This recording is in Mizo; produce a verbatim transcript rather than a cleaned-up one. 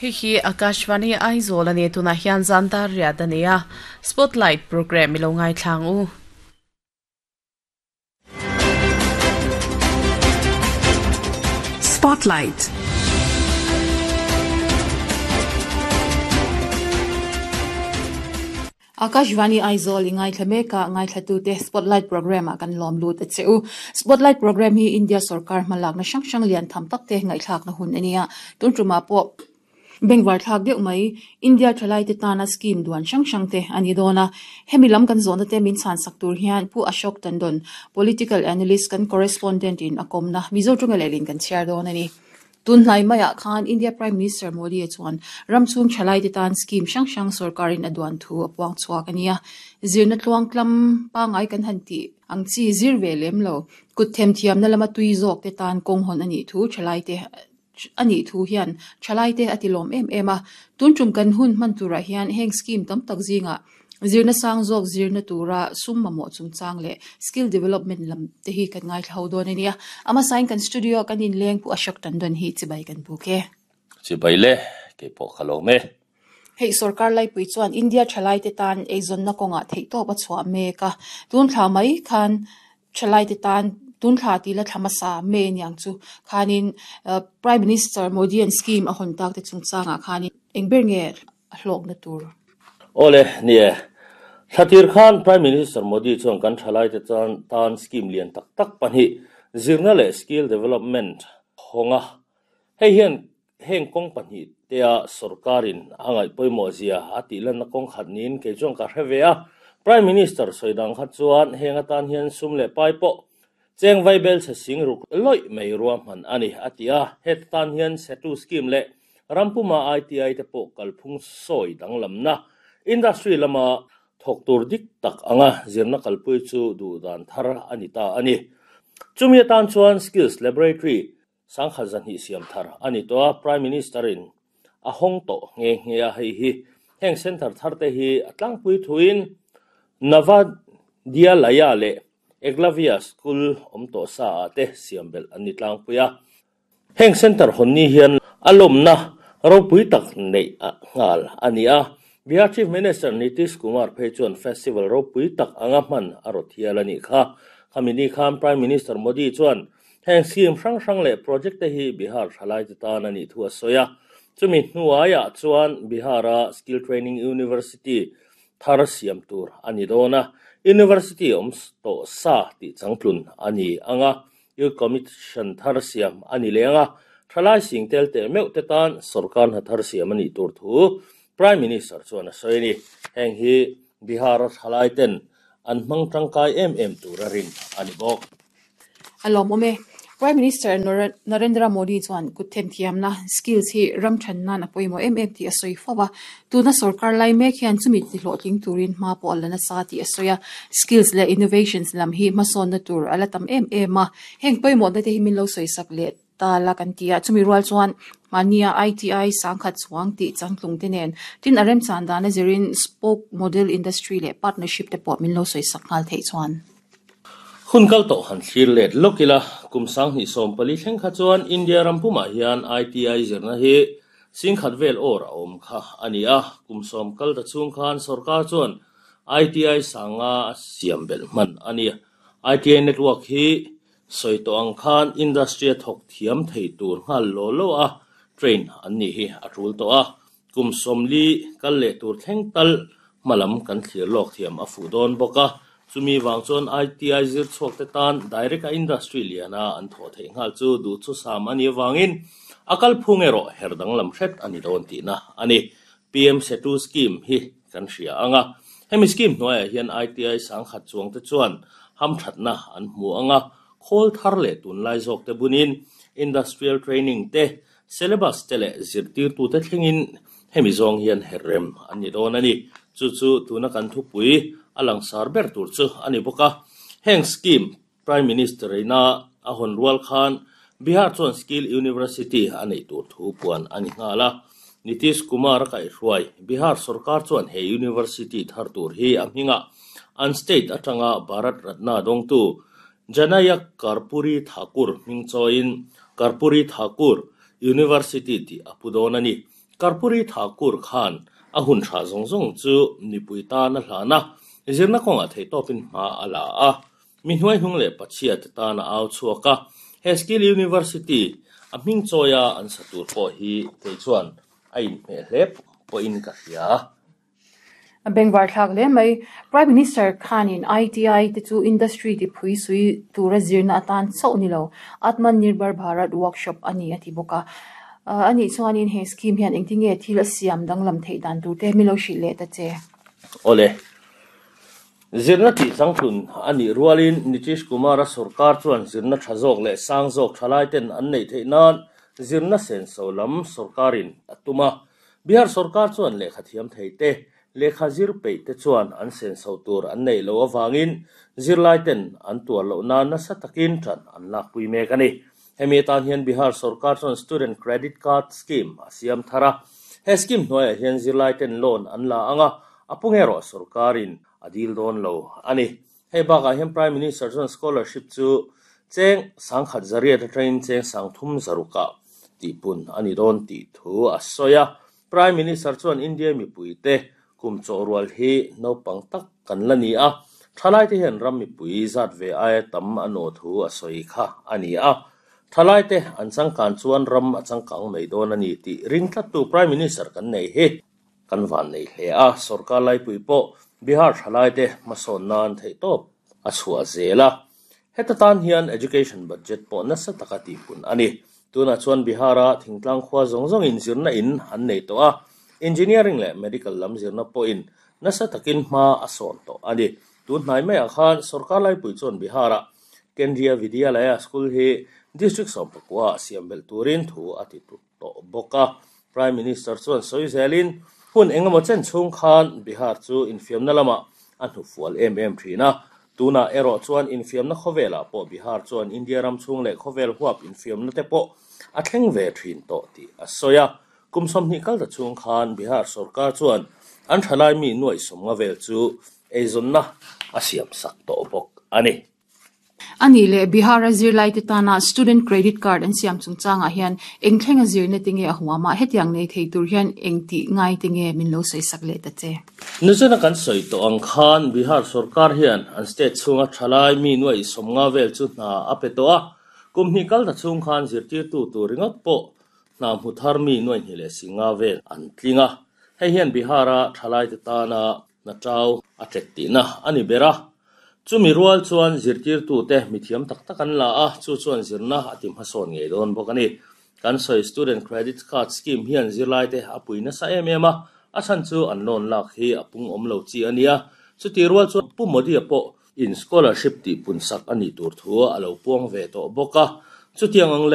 Hi hi Akashvani Aizawl ani tuna hian zandar riat ania Spotlight program ilo ngai thlang u. Spotlight. Akashvani Aizawl ingai thlame ka ngai thlatu te Spotlight program a kan lom lut a cheu. Spotlight program hi India sarkar hmalak na sang sang lian tham tak te ngai thlak na hun ania. Tun tuma po Bengwar thak deuh mai India thalai te tana scheme duan sang sang te ani dona. Hemi lam kan zona te min chan sak tur hian Pu Ashok Tandon political analyst kan correspondent in akomna Mizo tunga lelin kan share don ani. Tun hlai maya khan India Prime Minister Modi chuan ramchung thalai te tan scheme sang sang sarkarin aduan thu apuang chuak ania. Zirna tluang tlam pangai kan han ti ang chi zir ve lem lo kut them thiam na lama tui zawk te tan kong hon ani thu thalai te ani thu hian thalai te atilom em em a. Tun tum kan hun man tura hian heng scheme tam tak zinga zirna sang zawk zirna tura sum mamo chungchang le skill development lam te hi kan ngai thlau don ania. Ama sign kan studio kan in leng Pu Ashok Tandon hi chibai kan buke chibai le ke po khalo me. Hei sarkar lai pui chuan India thalai te tan eizon na konga thei to pa chua me ka tun thla mai khan thalai te tan tun thla ti la thlama sa me niang chu khanin Prime Minister Modi an scheme a hon tak te chungchanga khanin engber nge hlok na tur. Ole nie Thatir Khan Prime Minister Modi chuan kan thalai te chan tan scheme lian tak tak pani zirna le skill development honga hei hian heng kong pani tea sarkarin angai poimo zia ati lan na kong khat nin ke chuan ka hrevea. Prime Minister soidang khat chuan henga tan hian sum le pai po cheng vai bel che sing ruk loi mei ruam han ani atia. Het tan hian setu scheme le rampuma I T I te po kalphung soi danglam na industry lama thok tur dik tak anga zirna kalpui chu du dan thar anita ani. Chumi tan chuan skills laboratory sangkha zan hi siam thar ani to Prime Minister in a hong to nge nge a hei hi heng center thar te hi atlang pui thuin Navadyalaya le Eklavya School om to sa te siambel ani tlang puya. Heng center honni hian alomna ropui tak nei a ngal ani a. Bihar Chief Minister Nitish Kumar phei chuan festival ropui tak anga man arothial ani kha. Khamini khan Prime Minister Modi chuan heng scheme hrang hrang le project te hi Bihar thalai te tan ani thu a soya. Chumi hnuaia chuan Bihara Skill Training University thar siam tur ani dona. University om to sa ti changtlun ani anga. Youth Commission thar siam ani lenga. Thalai sing tel te meu te tan sarkar na thar siam ani tur thu Prime Minister chuan a sawi ni. Heng hi Bihar thalai ten an hmang tangkai em em turarin ani bawk. Alom ome Prime Minister Narendra Modi chuan kut them thiam na skills hi ram than na na poimo em em ti a sawi fawa. Tuna sarkar lai mek hian chumi ti hlawhtling turin hma pawh ala nasa ti a sawi a. Skills le innovations lam hi hmasawn na tur ala tam em em a. Heng pawimawh na te hi min lo sawi sak le ta la kan tia. Chumi rual chuan mania I T I sangkhat chuang ti changtlung te nen tin arem chan dana zirin spoke model industry le partnership te pawh min lo sawi sak nghal thei chuan. Hun kal to han thlir let lokila kum sang ni som pali thleng kha chuan India rampuma hian I T I zirna hi singkhat vel or a awm kha ani a. Kum som kal ta chung khan sarkar chuan I T I sanga siam bel man ani. I T I network hi soi to ang khan industry thok thiam thei tur ngal lo lo a train an ni hi a tul to a. Kum som li kal le tur thleng tal malam kan thlir lok thiam a fu don boka. Chumi wang chuan I T I zir chuak te tan direct a industry liana an tho thei ngal chu du chu sam ani wangin akal phung ero herdang lam hret ani don ti na ani. P M Setu scheme hi kan hria anga. Hemi scheme hnuaiah hian I T I sang khat chuang te chuan ham thatna an hmu anga. Khol thar le tun lai zawk te bunin industrial training te syllabus te le zirtir tu te thlengin hemi zawng hian herrem ani don ani. Chu chu tuna kan thupui alang sar ber tur chu ani boka. Heng scheme Prime Minister ina a hon rual khan Bihar chuan Skill University ani tur thu puan ani ngala. Nitish Kumar kai hruai Bihar sarkar chuan he university thar tur hi a hminga an state atanga Bharat Ratna dongtu Janayak Karpuri Thakur hming chawiin Karpuri Thakur University ti apudon ani. Karpuri Thakur khan a hun tha zong zong chu mipui ta na hlana zirna kawnga thei tawpin hma a la a mi hnuai hnung leh pachhia te tana au chhuaka he skill university a hming chawia an satur pawh hi kei chuan a inhmeh hle pawhin ka hria. Bengvar thlak le mai Prime Minister khanin I T I te chu industry ti phui sui tura zirna atan chauh ni lo Atmanirbhar Bharat workshop ani ati boka ani chuanin he scheme hian engtinge thil a siam danglam thei dan tur te milo hrilh leh ta che. Ole zirna ti changthun ani rualin Nitish Kumar a sarkar chuan zirna tha zawk leh sang zawk thalai ten an nei theih nan zirna sen so lam sarkarin atuma Bihar sarkar chuan lehkha thiam thei te lehkha zir peih te chuan an sen so tur an nei lo awangin zirlai ten an tuar lo na nasa takin than an lak pui mek ani. Hemi tan hian Bihar sarkar chuan student credit card scheme a siam thara he scheme hnuaiah hian zirlai ten loan an la anga apunge ro sarkarin adil don lo ani. Hei bakah hian Prime Minister chuan scholarship chu cheng sangkhat zariat atangin cheng sangthum zaruka tihpun ani dawn tih thu a sawi a. Prime Minister chuan India mipui te kum chaw rual hi naupang tak kan la ni a thalai te hian ram mipui zat ve aia tam a naw thu a sawi kha ani a thalai te an changkan chuan ram a changkang mai dawn ani tih ring tlat tu Prime Minister kan nei hi kan van nei hle a sarkar laipui pawh Bihar thalai te hmasawn nan theih tawp a chhuah zela heta tan hian education budget pawh nasa taka tihpun ani. Tuna chuan Bihara thingtlang khua zawng zawngin zirna in an nei tawh a engineering leh medical lam zirna pawhin nasa takin hma a sawn tawh ani. Tun hnai maiah khan sarkar laipui chuan Bihara Kendriya Vidyalaya school hi district sawmpakua siam belh turin thu a ti tut tawh bawk a. Prime Minister chuan sawi zelin hun engemaw chen chhung khan Bihar chu infiamna lamah a hnufual em em thin a tuna erawh chuan infiamna khawvelah pawh Bihar chuan India ram chhung leh khawvel huap infiamna te pawh a thleng ve thin tawh tih a sawi a. Kum sawmhnih kal ta chhung khan Bihar sarkar chuan an thalai mi nuai sawmnga vel chu eizawnna a siam sak tawh bawk ani. Ani le Bihar a zirlai te tana student credit card an siam chungchangah hian eng thlenga zirna te nge a huama hetiang nei thei tur hian eng ti ngai te nge min lo sawi sak leh ta che. Nizana kan sawi tawh ang khan Bihar sarkar hian an state chhunga thalai mi nuai sawmnga vel chu hna a pe tawh a kum hnih kal ta chhung khan zirtirtu tur ringawt pawh hna hmu thar mi nuai hnih leh singa vel an tling a. Hei hian Bihara thalai te tana na tau a tet tihna ani bera chumi rual chuan zirtirtu te mithiam tak tak an la a chu chuan zirna a ti hmasawn ngei dawn bawk ani. Kan sawi student credit card scheme hian zirlai te a pui nasa em em a a chhan chu an loan lak hi a pung awm lo chi ania chuti rual chuan Pu Modi pawh in scholarship tih pun sak ani tur thu a lo puang ve tawh bawk a chutiang ang level